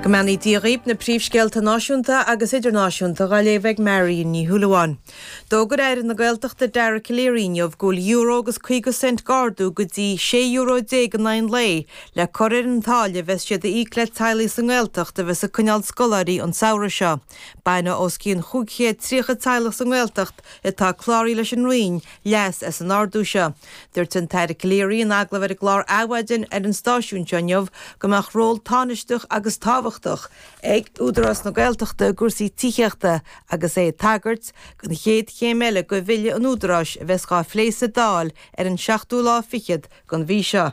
Go mbeannaí Dia dhaoib, na príomhscéalta náisiúnta agus idirnáisiúnta dhá léamh ag Marion Ní Shúilleabháin. D'fhógair Aire na Gaeltachta Dara Calleary inniu go bhfuil euro agus 50 cent d'ardú go dtí €16 euro in aghaidh an lae le cur ar an táille a bheas siad a íoc le teaghlaigh sa nGaeltacht a bheas ag coinneáil scoláirí an samhradh seo. Bainfidh os cionn 530 teaghlach sa nGaeltacht atá cláraithe leis an Roinn leas as an ardú seo. Dúirt an tAire Calleary in agallamh ar an gclár Adhmhaidin ar an stáisiún seo inniu go mbeadh ról tánaisteach agus tábhachtach ag Údarás na Gaeltachta i gcúrsaí tithíochta agus é ag tagairt don chéad chéim eile de Bhille an Údaráis a bheas dhá phlé sa Dáil ar an seachtú lá fichead den mhí seo.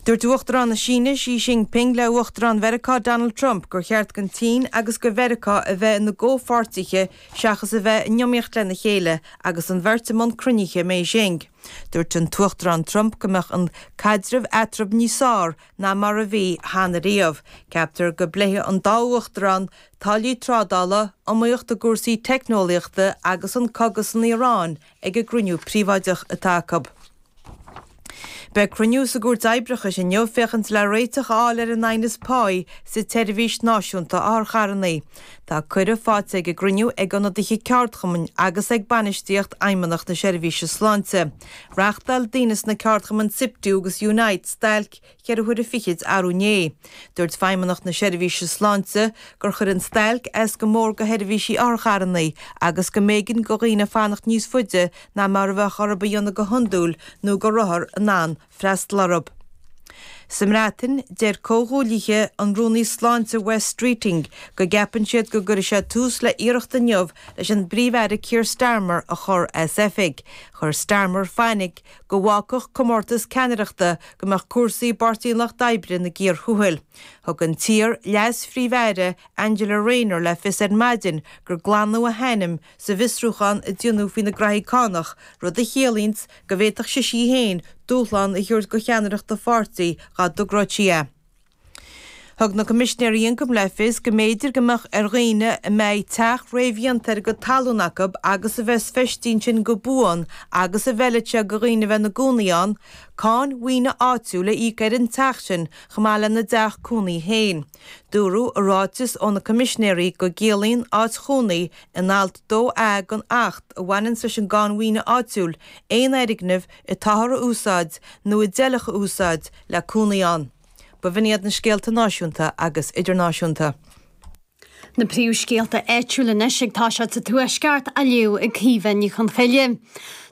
Dúirt Uachtarán na Síne, Xi Jinping le Uachtarán Mheiriceá Donald Trump gur cheart don tSín agus do Mheiriceá a bheith ina gcomhpháirtithe seachas a bheith in iomaíocht lena chéile agus an bheirt i mbun cruinnithe i mBeijing. Dúirt an tUachtarán Trump go mbeadh an caidreamh eatarthu níos fearr ná mar a bhí cheana riamh. Ceaptar go bpléifidh an dá uachtarán táillí trádála, iomaíocht i gcúrsaí teicneolaíochta agus an cogadh san Iaráin ag an gcruinniú príobháideach atá acu. Beidh cruinniú sa gCúirt Oibreachais inniu féachaint le réiteach a fháil ar an aighneas páí sa tSeirbhís Náisiúnta Otharcharranna. Tá cuireadh faighte ag an gcruinniú ag ionadaithe ceardchumainn agus ag bainistíocht Fheidhmeannacht na Seirbhíse Sláinte. Reáchtáil daoine sna ceardchumainn Siptu agus Unite stailc cheithre huaire fichid arú inné. Dúirt Feidhmeannacht na Seirbhíse Sláinte gur chuir an stailc as go mór go sheirbhísí otharcharranna agus go mb'éigean go dhaoine fanacht níos faide ná mar a bheadh orthu a dhéanamh go hiondúil nó go rabhthar in ann freastal orthu. Sa mBreatain, deir comhghuaillithe an Rúnaí Sláinte Wes Streeting go gceapann siad go gcuirfidh sé tús le iarracht inniu leis an bPríomh-Aire Keir Starmer a chur as oifig. Chuir Starmer fainic go bhfágfadh comórtas ceannaireachta go mbeadh cúrsaí i bPáirtí an Lucht Oibre ina gcíor thuathail. Thug an t-iar-leas-phríomh-aire Angela Rayner le fios ar maidin gur glanadh a hainm sa bhfiosrúchán a déanadh faoina graithí cánach, rud a chiallaíonns go bhféadfadh sise í féin dúshlán a thabhairt do cheannaireacht a pháirtí dhá dtogródh sí é. Thug na Coimisinéirí Ioncaim le fios go mb'fhéidir go mbeadh ar dhaoine a mbeidh teach réamhdhéanta ar a gcuid talún acu agus a bheas feistithe ansin go buan agus a bhfeilfeadh sé do dhaoine a bheith ina gcónaí ann, cáin mhaoine áitiúil a íoc ar an teach sin chomh maith lena dteach cónaí féin. Dúradh i ráiteas ó na Coimisinéirí go gciallaíonn áit chónaí in alt 2A den Acht a bhaineanns leis an gcáin mhaoine áitiúil aon fhoirgneamh atáthar a úsáid nó a d'fheilfeadh a úsáid le cónaí ann. B'in iad na scéalta náisiúnta agus idirnáisiúnta. Na príomhscéalta áitiúla anois ag toiseacht sa Tuaisceart á léamh ag Caoimhe Ní Chonchoille.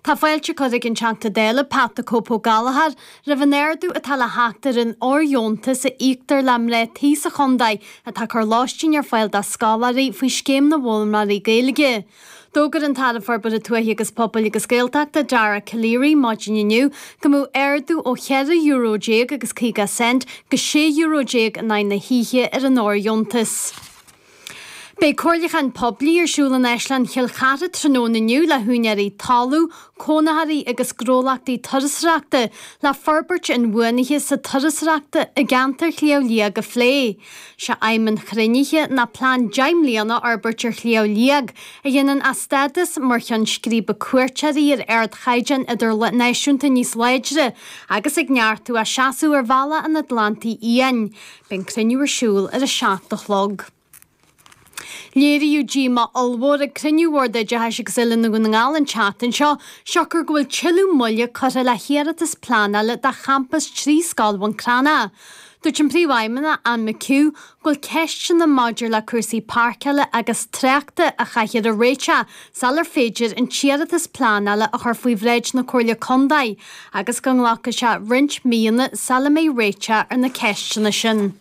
Tá fáilte curtha ag an Teachta Dála Pat the Cope Ó Gallchóir roimh an ardú atá le theacht ar an fhóirdheontas a íoctar le mná tí sa chontae atá ag cur lóistín ar fáil do scoláirí faoi Scéim na bhFoghlaimeoirí Gaeilge. D'fhógair an tAire Forbartha Tuaithe agus Pobail agus Gaeltachta, Dara Calleary, maidin inniu go mbeadh ardú ó €14 euro agus 50 cent go €16 euro in aghaidh na hoíche ar an fhóirdheontas. Beidh comhairliúchán poiblí ar siúl in Áislann Chill Chartha tráthnóna inniu le húinéirí talún, cónaitheoirí agus gnólachtaí turasóireachta le forbairt inbhuanaithe sa turasóireachta i gceantar Shliabh Liag a phlé. Sé aidhm an chruinnithe ná plean 10 mbliana a fhorbairt ar Shliabh Liag a dhéanann a stádas mar cheann scríbe cuairteoirí ar ardchaighdeán idirnáisiúnta níos láidre agus ag neartú a seasamh ar bhealach an Atlantaigh Fhiáin. Beidh an cruinniú ar siúl ar a 7 a chlog. Léiríodh díomá ollmhór ag cruinniú Bhord Oideachais agus Oiliúna Dhún na nGall an tseachtain seo, siocair go bhfuil tuilleadh moille curtha le hiarratas pleanála do champas 3 scoil Bhun Cranncha. Dúirt an Príomhfheidhmeannach, Anne McHugh, go bhfuil ceisteanna maidir le cúrsaí páirceála agus tráchta a chaithfear a réiteach sular féidir an t-iarratas pleanála a chur faoi bhráid na Comhairle Contae agus go nglacfaidh sé roinnt míonna sula mbeidh réiteach ar na ceisteanna sin.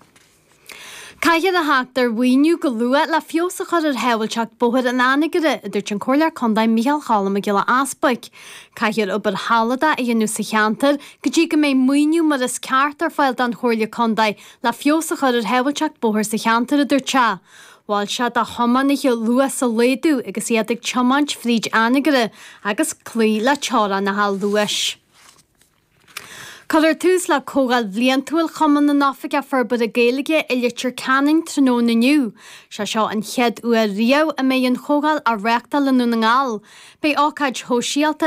Caithfear a theacht ar mhaoiniú go luath le feabhas a chur ar shábháilteacht bóthair in Anagaire, a dúirt an Comhairleoir Contae Micheál Cholm Mac Giolla Easbuic. Caithfear obair shealadach a dhéanamh sa cheantar go dtí go mbeidh maoiniú mar is ceart ar fáil don Chomhairle Contae le feabhas a chur ar shábháilteacht bóthair sa cheantar, a dúirt sé. Mhol sé do thiománaithe luas a laghdú agus iad ag tiomáint fríd Anagaire agus cloí le teorainneacha luais. Cuirfear tús le Comhdháil Bhliantúil Chumann na nOifigeach Forbartha Gaeilge i Leitir Ceanainn tráthnóna inniu. Sé seo an chéad uair riamh a mbeidh an chomhdháil á reáchtáil i nDún na nGall. Beidh ócáid shóisialta.